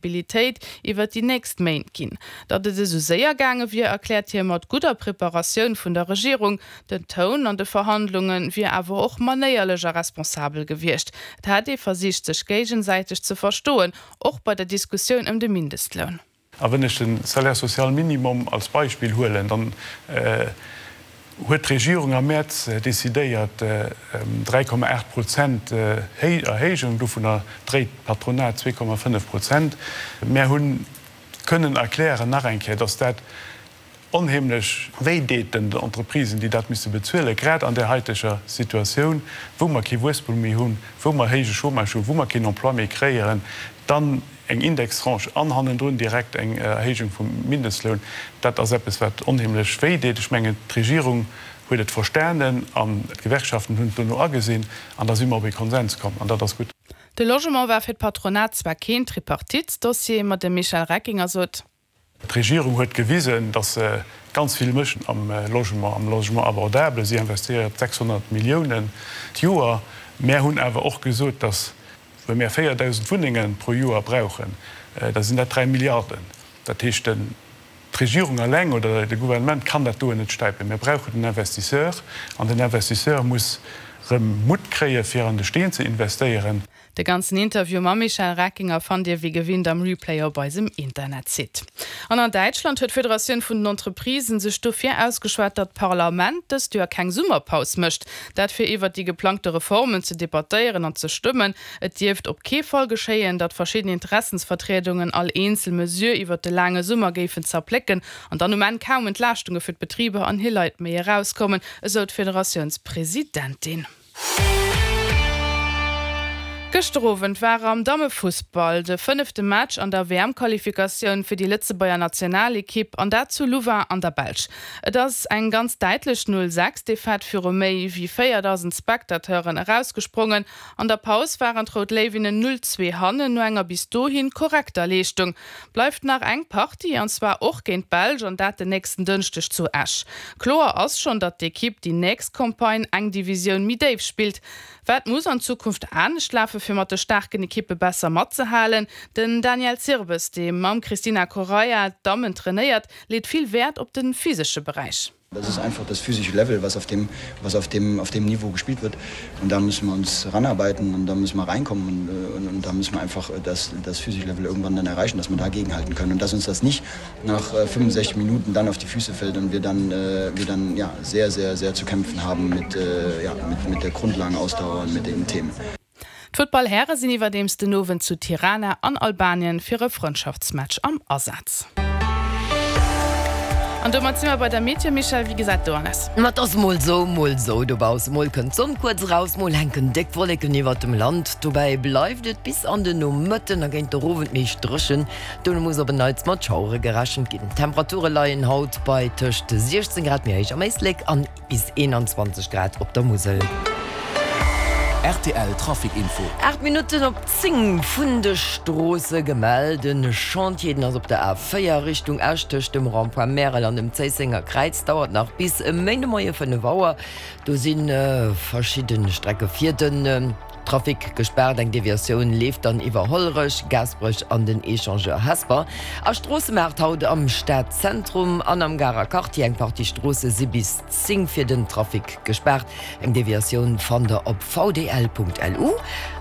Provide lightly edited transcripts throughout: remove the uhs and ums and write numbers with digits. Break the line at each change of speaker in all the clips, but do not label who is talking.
Stabilitéit iwwer déi nächst Méint ginn. Datt et esou séier gaange wier, erkläert hie mat gudder Preparatioun vun der Regierung. Den Toun an de Verhandlunge wier awer och manéierlech a responsabel gewiescht. Et hätt ee versicht, sech géigesäiteg ze verstoen, och bei der Diskussioun ëm de Mindestloun.
A wenn ech de Salaire social minimum als Beispill huelen, dann huet d'Regierung am Mäerz decidéiert, 3,8 Prozent Erhéijung, dovunner dréit d'Patronat 2,5 Prozent. Mär hu kënnen erklären, nach eng Kéier, dass dat onheemlech wéi deet den Entreprisen, déi dat misse bezuelen, grad an där haiteger Situatioun, wou mer kee Wuesstum méi hunn, wou mer héije Chômage hunn, wou mer keen Emploi méi kréieren, dann eng Indextranche an hannendrun direkt eng Erhéijung vum Mindestloun, dat ass eppes, wat onheemlech wéi deet. Ech mengen, d'Regierung huet et verstanen an d'Gewerkschaften hunn et dono agesinn an da si mer op ee Konsens komm an dat ass gutt.
De Logement war fir d'Patronat zwar keen Tripartite-Dossier, ma de Michel Reckinger sot,
D'Regierung huet gewisen, datt se ganz vill mécht am Logement, am Logement abordable. Si investéiert 600 Milliounen d'Joer. Mär hunn awer och gesot, datt wa mär 4.000 Wunnenge pro Joer brauchen, da sinn dat 3 Milliarden. Dat heescht, d'Regierung eleng oder de Gouvernement kann dat doen net stäipen. Mir brauchen den Investisseur an den Investisseur muss erëm Mutt kréie fir an de Steen ze investéieren.
De ganzen Interview mam Michel Reckinger fannt Dir wéi gewinnt am Replay op eisem Internetsite. An an Däitschland huet d'Federatioun vun den Entreprisen sech dofir ausgeschwat, datt d'Parlament dëst Joer keng Summerpaus mécht. Dat fir iwwert déi geplangte Reformen ze debattéieren an ze stëmmen. Et dierft op kee Fall geschéien, datt verschidden Interessensvertriedungen all eenzel Mesure iwwert de laange Summer géifen zerplécken an dann um Enn kaum Entlaaschtunge fir d'Betriber an hir Leit méi erauskommen, esou d'Federatiounspresidentin. Gëschter Owend war am Dammefussball de fënnefte Match an der WM-Qualifikatioun fir déi Lëtzebuerger Nationalekipp an dat zu Louvain an der Belsch. Et ass eng ganz däitlech 0, 6 Defaite viru méi wéi 4.000 Spectateuren erausgesprongen. An der Paus waren d'Rout Léiwinnen 0, 2 hannen no enger bis dohin korrekter Leeschtung. Bleift nach eng Partie, an zwar och géint d'Belsch, an dat den nächsten Dënschdeg zu Esch. Kloer ass schonn, datt d'Ekipp déi nächst Campagne eng Divisioun méi déif spillt. Wat muss an Zukunft anescht lafe fir mat de staarken Ekippe besser matzehalen? Den Daniel Zirbes, dee mam Cristina Correia d'Dammen trainéiert, leet vill Wäert op de physesche Beräich.
Das ist einfach das physische Level, was auf dem, was auf dem, auf dem Niveau gespielt wird. Und da müssen wir uns ranarbeiten und da müssen wir reinkommen und, äh, und, und da müssen wir einfach das, das physische Level irgendwann dann erreichen, dass wir dagegenhalten können und dass uns das nicht nach 65 äh, Minuten dann auf die Füße fällt und wir dann, äh, wir dann ja, sehr, sehr, sehr zu kämpfen haben mit, äh, ja, mit, mit der Grundlagenausdauer und mit den Themen.
D'Football-Häre sinn iwwerdeems den Owend zu Tirana an Albanien fir e Frëndschaftsmatch am Asaz. An domat si mer bei der Meteo. Michèle, wéi gesäit do an aus?
Ma et ass mol sou, mol sou dobausse. Mol kënnt d'Sonn kuerz eraus, mol hänken déck Wolleken iwwert dem Land. Dobäi bleift et bis an de Nomëtten a géint de Owend meescht dréchen. Dono muss op en Neits mat Schauere gerechent ginn. D'Temperature leien haut bei tëscht 16 Grad méi héich am Éislek an. Bis 21 Grad op der Musel.
Rtl Trafic Info.
8 Minutten op 10 vun de Stroosse gemellt. En Chantier, den ass op der A4 Richtung Esch tëscht dem Rond-point Märel an dem Zéissenger Kräiz, dauert nach bis e Méindemoie 5 Auer. Do si verschidde Strecke fir den Trafic gespaart. Eng Deviatioun leeft dann iwwer Hollerech, Gaasperech an den Echangeur Hesper. A Stroossemaart haut am Stadzentrum an am Garer Quartier. Eng Partie Stroosse si bis 10 fir den Trafic gespaart. Eng Deviatioun fannt der op vdl.lu.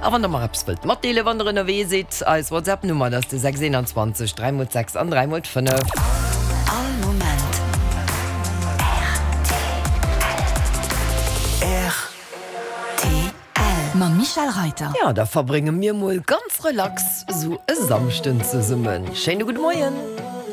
A wann der mer eppes wëllt matdeelen, wann der ënnerwee sidd, eis WhatsApp-Nummer, dat ass de 621 3 mol 6 an 3 mol 5.
All Moment
rtl.
Mam Michèle Reiter.
Jo, da verbrénge mir mol ganz relax sou e Samschden zesummen. Schéine gudde Moien.